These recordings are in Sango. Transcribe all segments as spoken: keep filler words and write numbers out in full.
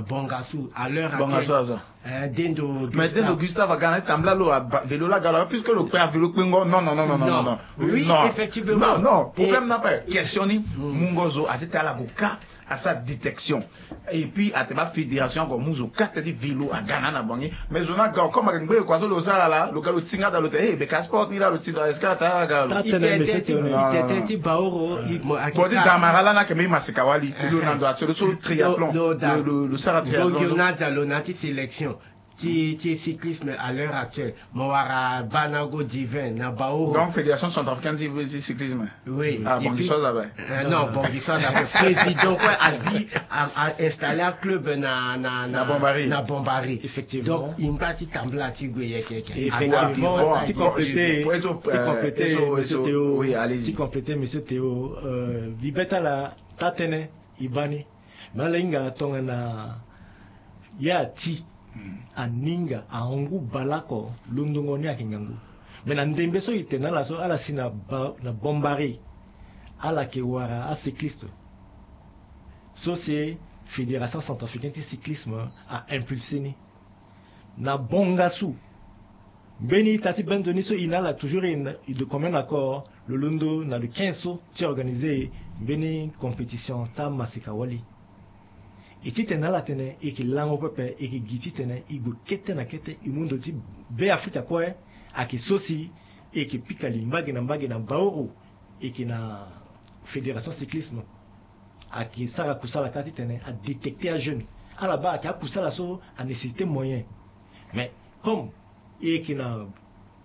Bongasu à l'heure actuelle. Bongasu aza. Eh, dendo mais dendo Gustave aga na tambla lo. Vélo la galo puisque lo pe a vélo kpengo. Non, non, non, non, non, non. Oui, non, effectivement. Non, non, problème na pe question ni. Mungo zo ati te ala go ka asa détection. Et puis ate ba fédération ko muzo kate di vélo aga na na bangi. Mais zo na ga comme ake ngbe ko azo lo sala la lo ga lo tinga da lo te eh be ka sport ni la lo tinga est-ce que ata ga lo. Tatene monsieur Théo. Itete ti baoro. Bodi damara la na ke me masika wali lo na ndo atio lo so triathlon. Lo sara triathlon. Bongi na dia lo na ti sélection ti ti cyclisme à l'heure actuelle. Mo wara bana go divin na baoro. Donc fédération centrafricaine ti cyclisme. Oui. Ah bon, bongi so aza be. Non, bongi so aza be président kue azi a installé un club na na na Bombari. Na Bombari. Effectivement. Donc imba ti tambla ti gue yeke yeke. Effectivement. Ti compléter ti compléter monsieur Théo. Oui, allez-y. Ti compléter monsieur Théo. Vibeta la tatene ibani. Mais ala hinga tongana ya ti aninga ahon ngu baleoko londongo ni ayeke ngangu. Mais na ndembe so e tene na ala so ala si na Bombari ala yeke wara acycliste so si fédération centrafricaine ti cyclisme a impulsé ni. Na bongasu mbeni ita ti bendo ni so e na ala toujours e de commun accord lo londo na le quinze so ti organisé mbeni compétition ti amaseka wali. E titene ala tene e yeke lango pepe e yeke gi titene e gue kete na kete e mu ndo ti Beafrika kue. Ayeke so si e yeke pika li mbage na mbage na baoro e yeke na fédération cyclisme. Ayeke sara kusala kâ titene adétecter ajeune. Ala baa ayeke akusala so anécessité moyen. Mais comme e yeke na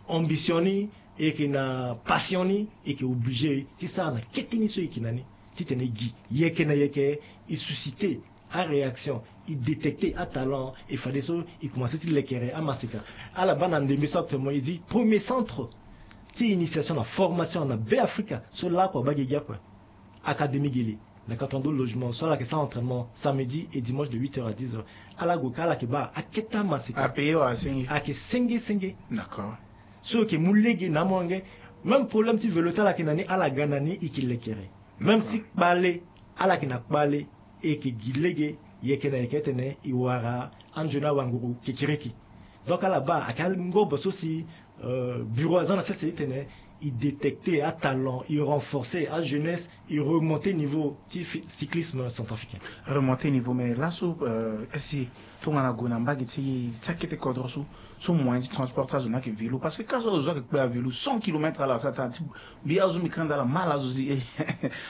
ambition ni e yeke na passion ni e yeke obligé ti sara na kete ni so e yeke na ni titene e gi yeke na yeke e susciter aréaction e détecter atalent e fadeso e commencé ti lekere amaseka. Ala baa na ndembe so actuellement e di premier centre ti initiation na formation na Beafrika so laoko abaa gi gi akue. Académie Guélé na quatre-vingt-douze logements so ala yeke sara entraînement samedi et dimanche de huit heures à dix heures. Ala gue ka ala yeke baa akete amaseka. Apayé wala asenge? Ayeke senge senge. D'accord. So e yeke mu lege na amolenge. Même problème ti vélo ti ala yeke na ni ala ga na ni e yeke lekere. Même si kpale ala yeke na kpale e yeke gi lege yeke na yeke titene e wara anzoni awanguru kekereke. Donc ala baa ayeke angobo so si bureau aza na sese titene e détecter atalent e renforcer ajeunesse e remonter niveau ti cyclisme centrafricain. Remonter niveau mais laso si tongana gue na mbage ti akete kodro so so moyen ti transport ti azo ni ayeke vélo parce que ka so azo so ayeke kpe avélo cent kilomètres ala sara tara ti mbi azo mbi kanda ala mal azo si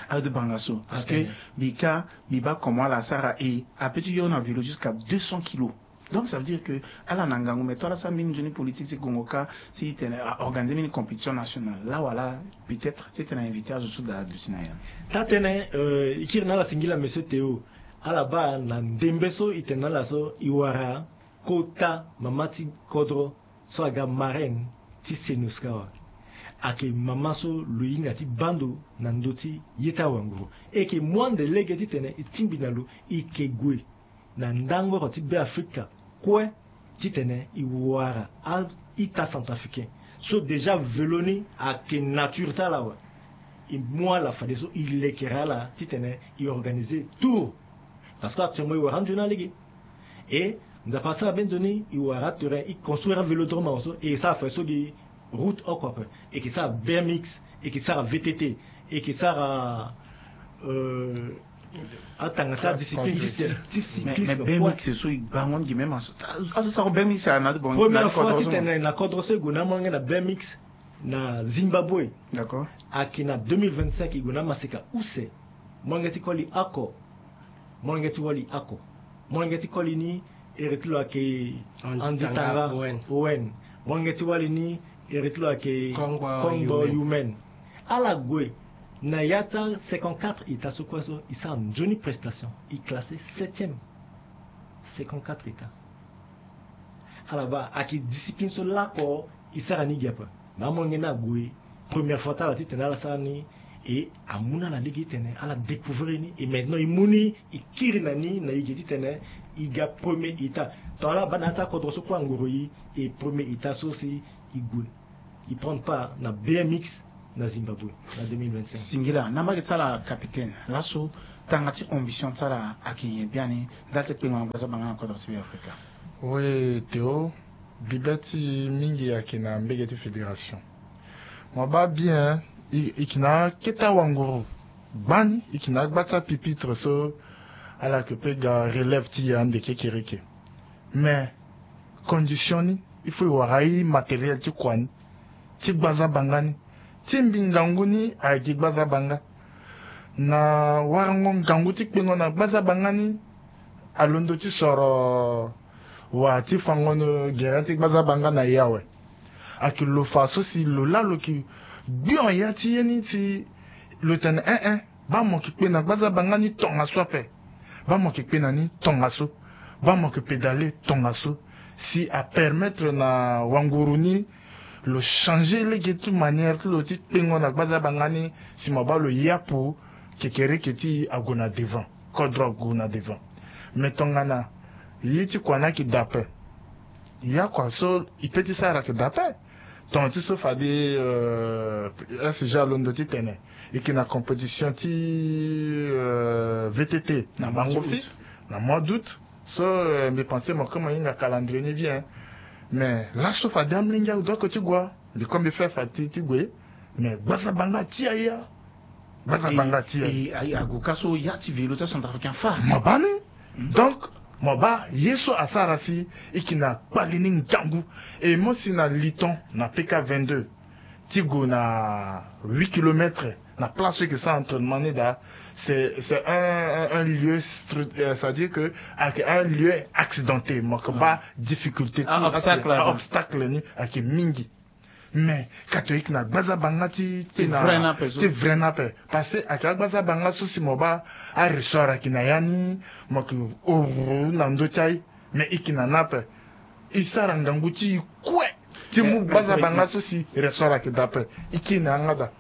azo ti banga so parce que mbi ka mbi baa comment ala sara e ape ti yo na vélo jusqu'à deux cents kilos. Donc ça veut dire que ala na ngangu mais to ala sara mbeni nzoni politique ti gongo ka ti tene a organiser mbeni compétition nationale la wala peut-être ti tene a inviter azo so daa aduti na ya. Taa tënë e kiri na ala singila monsieur Théo. Ala baa na ndembe so e tene na ala so e wara kota mama ti kodro so aga marraine ti Senoska awe. Ayeke mama so lo hinga ti baa ndo na ndö ti ye ti awanguru. E yeke mu ande lege titene e tingbi na lo e yeke gue na ndangoro ti Beafrika kue titene e wara a-ita centrafricain so déjà velo ni ayeke nature ti ala awe. E mu ala fadeso e lekere ala titene e organiser tour. Parce que actuellement e wara anzoni alege. E Nzapa asara be nzoni e wara aterrain e construire avélodrome awe so e sara fade so gi route oko ape. E yeke sara B M X, e yeke sara V T T, e yeke sara atanga ti adiscipline ti cycliste. Mais B M X so e bango ni gi même aso sara B M X na première fois titene na kodro so e gue na amolenge na B M X na Zimbabwe. D'accord. Ayeke na deux mille vingt-cinq e gue na amaseka use. Molenge ti koli ako. Molenge ti wali ako. Molenge ti koli ni ere ti lo ayeke Andy Tanga Owen. Molenge ti wali ni ere ti lo ayeke Kongbo Yumen. Ala gue na ya ti a cinquante-quatre état so kue so e sara nzoni prestation e classé septième. Cinquante-quatre état. Ala baa ayeke discipline so lakue e sara ni gi ape. Mais amolenge ni ague première fois ti ala titene ala sara ni. E amu na ala lege titene ala découvrir ni e maintenant e mu ni e kiri na ni na e ge titene e ga premier état. Tongana ala baa na ya ti akodro so kue angoro e e premier état so si e gue e prendre part na B M X na Zimbabwe na deux mille vingt-cinq. Singila na mbage ti ala capitaine laso. tanga ti ambition ti ala ayeke nyen biani? Ndali ti kpengo na gbazabanga na kodro ti Be Afrika. Oui, Théo, bibe ti mingi ayeke na mbege ti fédération. Mo baa bien, e, e yeke na akete awanguru gbani, e yeke na agba ti apupitre so ala yeke pe ga relève ti e ande kekereke. Mais condition ni, il faut e wara amatériel ti kua ni ti gbazabanga ni, ti mbi ngangu ni ayeke gi gbazabanga. Na warango ngangu ti kpengo na gbazabanga ni, alondo ti soro wa ti fango gere ti gbazabanga na e awe. Ayeke lo fa so si lo laa lo yeke gbion ya ti ye ni si lo tene eh eh, baa mo yeke kpe na gbazabanga ni tongaso ape. Baa mo yeke kpe na ni tongaso. Baa mo yeke pédale tongaso. Si apermettre na wanguru ni lo changer lege ti manière ti lo ti kpengo na gbazabanga ni, si mo baa lo yapu kekereke ti e ague na devant, kodro ague na devant. Mais tongana ye ti kua ni ayeke daa ape, ya kua so e pe ti sara ayeke daa ape. Tonga ti so fade, euh, S G alondo ti tene e yeke na compétition ti, euh, V T T na bango fini na mois d'août. So, euh, mbi pense mo koma hinga calendrier ni bien. Mais laso fade amolenge awe donc ti gue. Mbi koma mbi fe fa ti, ti gue. Mais gbazabanga ti a ya. Gbazabanga ti a ya. E, e, ague ka so ya ti vélo ti acentrafricain fa. Mo baa ni. Donc mo baa ye so asara si e yeke na kpali ni ngangu. E mo si na Liton na P K vingt-deux ti gue na huit kilomètres na place so e yeke sara entraînement ni daa. C'est, c'est un, un, un lieu stru-, euh, c'est-à-dire que ayeke un lieu accidenté, mo yeke baa difficulté ti, ah, obstacle, ah, obstacle ni ayeke mingi. Mais ka to e yeke na gbazabanga ti, ti na vrai ni ape so. Ti vrai ni ape. Parce que ayeke agbazabanga so si mo baa aressort ayeke na ya ni, mo yeke horo na ndö ti aye. Mais e yeke na ni ape. E sara ngangu ti e kue ti mu gbazabanga so si ressort ayeke daa ape. E kiri na yanga daa.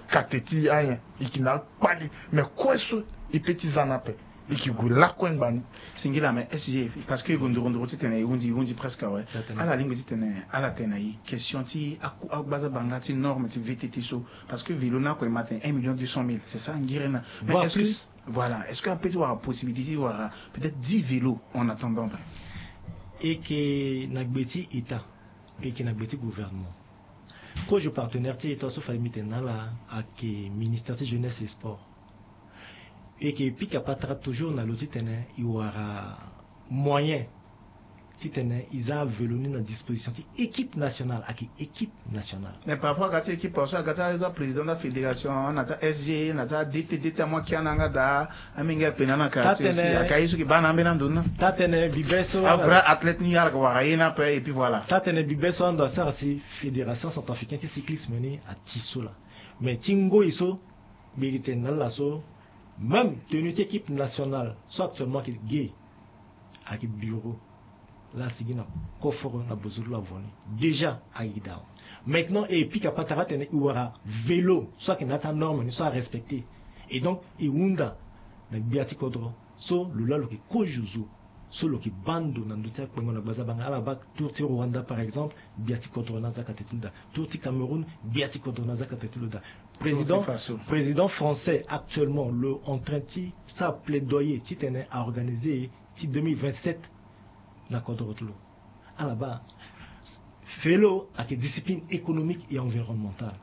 Kate ti ayen e yeke na akpali. Mais kue so e pe ti za ni ape. E yeke gue lakue ngbani. Singila, mais S G, parce que e gue nduru nduru titene e hundi, e hundi presque awe. Ala lingbi titene ala tene na e question ti aku-, agbazabanga ti norme ti V T T so. Parce que vélo ni ako e ma tene un million deux cent mille, c'est ça, ngiri na. Mais est-ce que, voilà, est-ce que ape ti wara possibilité ti wara peut-être dix vélos en attendant? E yeke na gbe ti État, e yeke na gbe ti gouvernement. Kozo partenaire ti État so fade mbi tene na ala ayeke ministère ti jeunesse et sport. E yeke pika patara toujours na lo titene e wara moyen titene e za avélo ni na disposition ti équipe nationale, ayeke équipe nationale. Mais parfois aga ti équipe so aga ti azo président ti afédération, na ti a-S G, na ti a-D T, D T amu akia na yanga daa, amenge akpe na ala na kara ti aussi. Aka ye so yeke baa na ambeni ando ni na. Taa tene bibe so, avrai athlète ni ala yeke wara ye ni ape, et puis voilà. Taa tene bibe so ando asara si fédération centrafricaine ti cyclisme ni ati so laa. Mais ti ngoi so, mbi yeke tene na ala so, même tenue ti équipe nationale so actuellement ayeke ge, ayeke bureau laa asigi na coffre na bozo ti lo avoni. Déjà ayeke daa. Maintenant e pika patara atene e wara vélo so ayeke na ya ti anorme ni so arespecté. Et donc e hunda na gbia ti kodro so lo laa lo yeke kozo zo so lo yeke baa ndo na ndö ti akpengo na gbazabanga. Ala baa tour ti Rwanda par exemple, gbia ti kodro ni aza kate ti lo daa. Tour ti Cameroun, gbia ti kodro ni aza kate ti lo daa. Président, président français actuellement lo en train ti sara plaidoyer titene a organiser ti deux mille vingt-sept na kodro ti lo. Ala baa, vélo ayeke discipline économique et environnementale.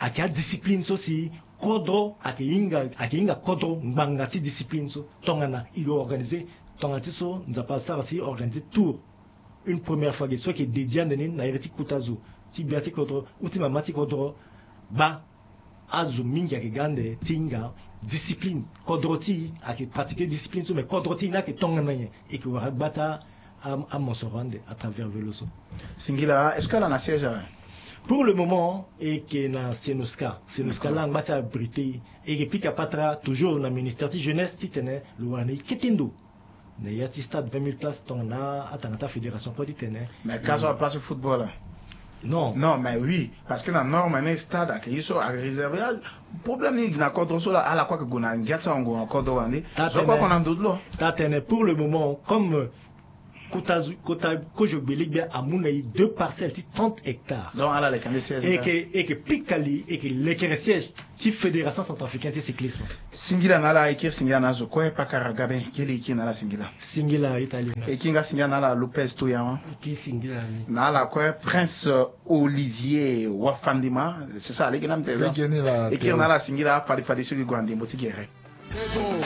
Ayeke adiscipline so si kodro ayeke hinga, ayeke hinga kodro ngbanga ti discipline so. Tongana e organiser, tongana ti so Nzapa asara si e organiser tour une première fois ge so ayeke dédié ande ni na iri ti kota zo ti gbia ti kodro ou ti mama ti kodro, baa azo mingi ayeke ga ande ti hinga discipline. Kodro ti e ayeke pratiquer discipline so, mais kodro ti e ni ayeke tongana nyen? E yeke wara gba ti a, a, amosoro ande à travers vélo so. Singila, est-ce que ala na siège awe? Pour le moment e yeke na Senoska. Senoska laa angba ti abrité e. E yeke pika patara toujours na ministère ti jeunesse titene lo wara na e kete ndo na ya ti stade vingt mille places tongana atanga ti afédération kue titene. Mais ka so aplace football. Non. Non, mais oui, parce que na norme ni stade ayeke ye so ayeke réservé. Ah, problème ni na kodro so laa, ala kue ayeke gue na ngia ti awango na kodro wande. Zo kue ako na ndo ti lo. Taa tene pour le moment comme Kota zu- kota kozo gbele gbia amu na e deux parcelles ti trente hectares. Donc ala leke ande siège. Eke eke pika li eke lekere siège ti fédération centrafricaine ti cyclisme. Singila na ala, e kiri singila na azo kue, pakara gabe kiri e kiri na ala singila. Singila italie. E kiri nga singila na ala Lopez Toyaman. Eke singila ni. Na ala kue Prince Olivier Wafandima. C'est ça, lege na mtela. Lege ni la. E kiri na ala singila, fade fade so gi gue na ndembo ti gere.